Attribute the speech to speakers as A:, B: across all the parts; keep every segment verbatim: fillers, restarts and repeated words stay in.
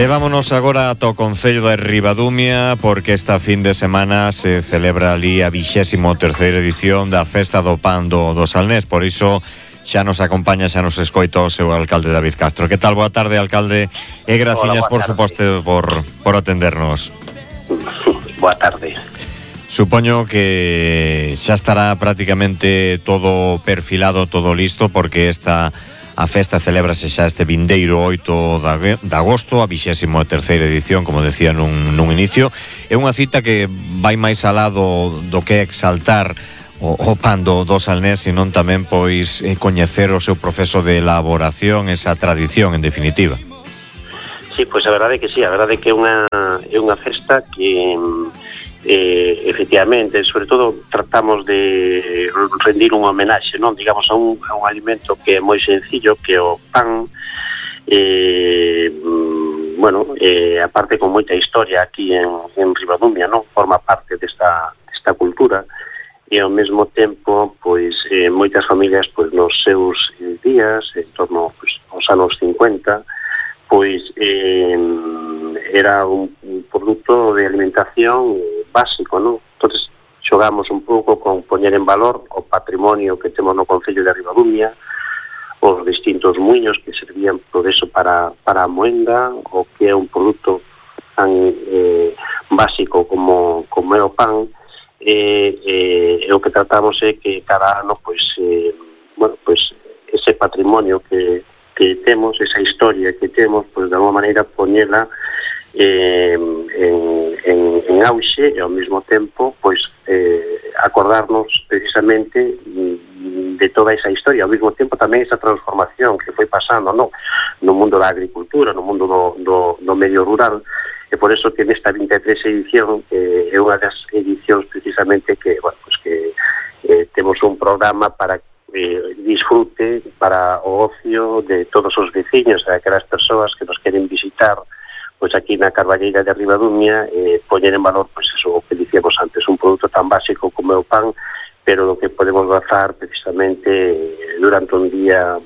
A: E vámonos agora ata o Concello de Ribadumia, porque esta fin de semana se celebra ali a vixésimo terceira edición da Festa do Pan do, do Salnés. Por iso xa nos acompaña, xa nos escoita o seu alcalde David Castro. Que tal? Boa tarde, alcalde, e graciñas, por suposto, por, por atendernos.
B: Boa tarde.
A: Supoño que xa estará prácticamente todo perfilado, todo listo, porque esta a festa celébrase xa este vindeiro oito de agosto, a vixésimo terceira edición, como decía nun, nun inicio. É unha cita que vai máis alá do, do que exaltar o, o pan do, do Salnés, senón tamén pois coñecer o seu proceso de elaboración, esa tradición, en definitiva.
B: Sí, pois a verdade é que sí, a verdade é que é unha, é unha festa que eh, efectivamente, sobre todo tratamos de rendir un homenaxe, non, digamos, a un, a un alimento que é moi sencillo, que é o pan, eh, bueno, eh, aparte con moita historia aquí en, en Ribadumia, non, forma parte desta, desta cultura, e ao mesmo tempo, pois, eh, moitas familias, pois, nos seus eh, días, en torno, pois, aos anos cincuenta, pois, eh, era un, un produto de alimentación básico, non? Entonces, xogamos un pouco con poñer en valor o patrimonio que temos no Concello de Ribadumia, os distintos muiños que servían por eso para, para a moenda, o que é un produto tan eh, básico como, como é o pan, e eh, eh, o que tratamos é que cada ano, pois, eh, bueno, pois, ese patrimonio que, que temos, esa historia que temos, pois, de alguma maneira, poñela Eh, en, en, en auxe, e ao mesmo tempo, pois, eh, acordarnos precisamente de toda esa historia, ao mesmo tempo tamén esa transformación que foi pasando, no, no mundo da agricultura, no mundo do, do, do medio rural, e por eso que nesta vinte e tres edición eh, é unha das edicións precisamente que, bueno, pues que eh, temos un programa para eh, disfrute, para o ocio de todos os veciños, de aquelas persoas que nos queren visitar, pois aquí na Carballeira de Ribadumia, eh, poñer en valor, pois eso, o que dicíamos antes, un produto tan básico como é o pan, pero do que podemos gozar precisamente durante un día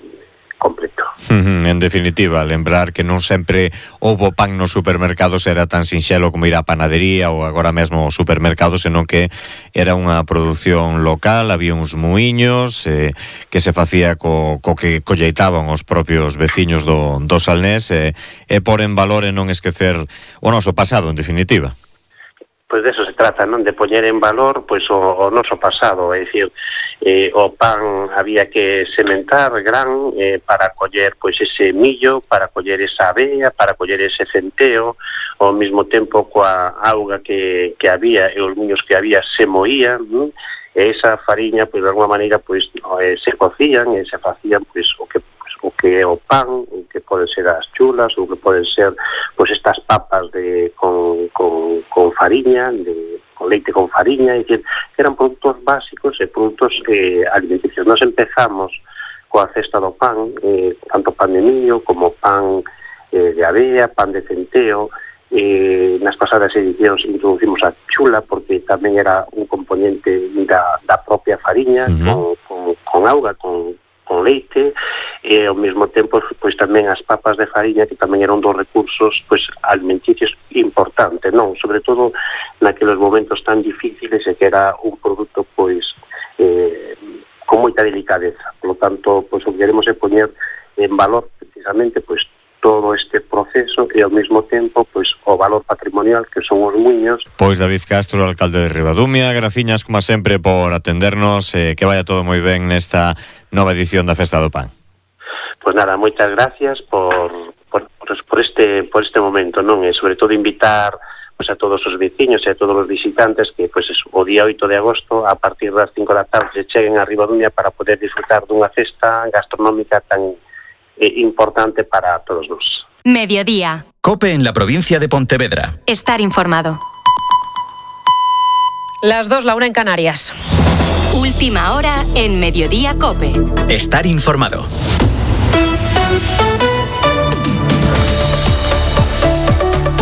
B: completo.
A: Uh-huh, en definitiva, lembrar que non sempre houbo pan nos supermercados, era tan sinxelo como ir á panadería ou agora mesmo ao supermercado, senón que era unha produción local, había uns muiños eh, que se facía co, co que colleitaban os propios veciños do, do Salnés, eh, e por en valor e non esquecer o noso pasado, en definitiva.
B: Pois de eso se trata, non? De poñer en valor, pois, o, o noso pasado, é dicir, eh, o pan había que sementar gran eh, para coller, pois, ese millo, para coller esa avea, para coller ese centeo, ao mesmo tempo coa auga que, que había e os miños que había se moían, non? E esa fariña, pois, de alguma maneira, pois, eh, se cocían e se facían, pois, o que o que é o pan, o que poden ser as chulas, o que poden ser, pois, estas papas de con, con, con fariña, de, con leite con fariña, é dicir, eran produtos básicos e produtos eh, alimenticios. Nos empezamos coa cesta do pan, eh, tanto pan de millo como pan eh, de avea, pan de centeo. Eh, nas pasadas edicións introducimos a chula, porque tamén era un componente da, da propia fariña, uh-huh. con, con, con auga, con con leite, e ao mesmo tempo, pois, tamén as papas de fariña, que tamén eran dos recursos, pois, alimenticios importantes, non? Sobre todo naqueles momentos tan difíciles, e que era un produto, pois, eh, con moita delicadeza. Por lo tanto, pois, o que queremos é poñer en valor, precisamente, pois, todo este proceso e ao mesmo tempo, pois, o valor patrimonial que son os muiños.
A: Pois David Castro, alcalde de Ribadumia, graciñas como sempre por atendernos, eh, que vaya todo moi ben nesta nova edición da Festa do Pan.
B: Pois nada, moitas gracias por, por, por, este, por este momento, non? E sobre todo invitar, pois, a todos os veciños e a todos os visitantes que, pois, eso, o día oito de agosto, a partir das cinco da tarde, cheguen a Ribadumia para poder disfrutar dunha festa gastronómica tan eh, importante para todos nós.
C: Mediodía.
D: COPE en la provincia de Pontevedra.
C: Estar informado.
E: Las dos, la una en Canarias.
C: Última hora en Mediodía COPE.
D: Estar informado.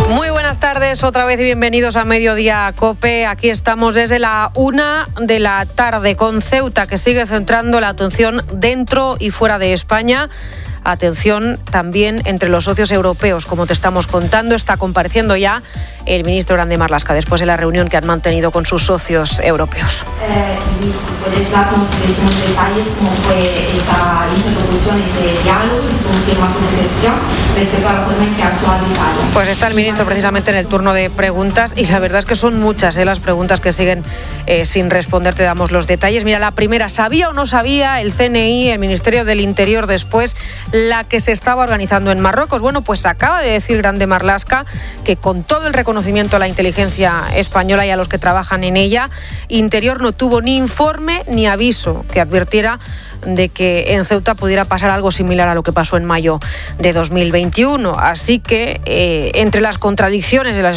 E: Muy buenas tardes, otra vez y bienvenidos a Mediodía COPE. Aquí estamos desde la una de la tarde con Ceuta, que sigue centrando la atención dentro y fuera de España. atención también entre los socios europeos, como te estamos contando. Está compareciendo ya el ministro Grande Marlaska después de la reunión que han mantenido con sus socios europeos.
F: Eh, y si puedes darnos unos detalles cómo fue esta interlocución, ese diálogo, si confirma su decepción respecto a la forma en que actúa Italia.
E: Pues está el ministro precisamente en el turno de preguntas y la verdad es que son muchas ¿eh? las preguntas que siguen eh, sin responder. Te damos los detalles. Mira, la primera, ¿sabía o no sabía el C N I, el Ministerio del Interior, después la que se estaba organizando en Marruecos? Bueno, pues acaba de decir Grande Marlaska que con todo el reconocimiento a la inteligencia española y a los que trabajan en ella, Interior no tuvo ni informe ni aviso que advirtiera de que en Ceuta pudiera pasar algo similar a lo que pasó en mayo de dos mil veintiuno. Así que, eh, entre las contradicciones de las